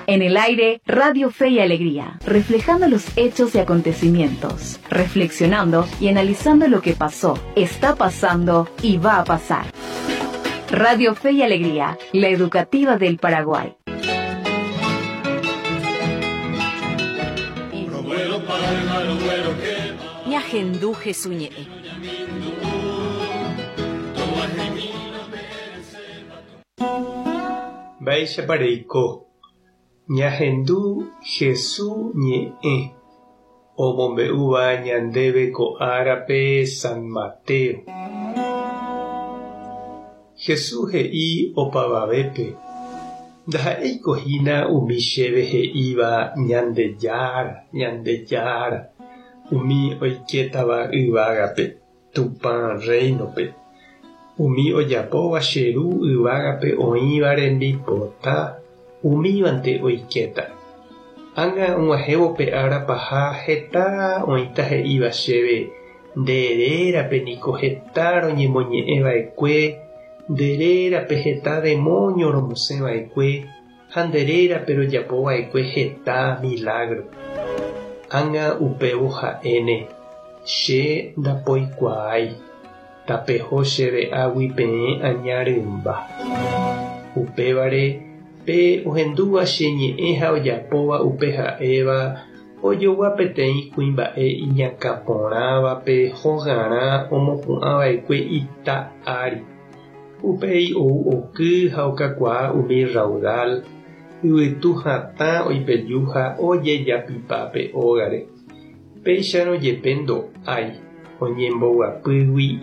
En el aire, Radio Fe y Alegría, reflejando los hechos y acontecimientos, reflexionando y analizando lo que pasó, está pasando y va a pasar. Radio Fe y Alegría, la educativa del Paraguay. Ñahendu Hesu ñe'ẽ. Mba'éichapa reiko? Ñahendu Hesu ñe'ẽ omombe'úva ñandéve ko árape San Mateo. Hesu he'i opavavépe, Ndaha'éiko hína umi chéve he'íva Ñandejára, Ñandejára, umi oikétava yvágape. Tupã Rréinope. Umi ojapóva che Ru yvágape oĩva rembipota, umívante oikéta. Ág̃a og̃uahẽvo pe ára paha heta oĩta he'íva chéve, Nde rérape niko heta roñemoñe'ẽ va'ekue, nde rérape heta demóño romosẽ va'ekue, ha nde rérape rojapo va'ekue heta milágro. Ág̃a upévo ha'éne, Che ndapoikuaái, tapeho chéve águi peẽ aña rymba. Upévare, pe ohendúva che ñe'ẽ ha ojapóva upe ha'éva, ojogua peteĩ kuimba'e iñakã porãvape hogarã omopu'ã va'ekue ita ári. Upéi ou oky ha okakuaa umi rraudál, yvytu hatã oipeju ha ojejapipa pe ógare. Péicharõ jepe ndo'ái, oñemboguapýgui.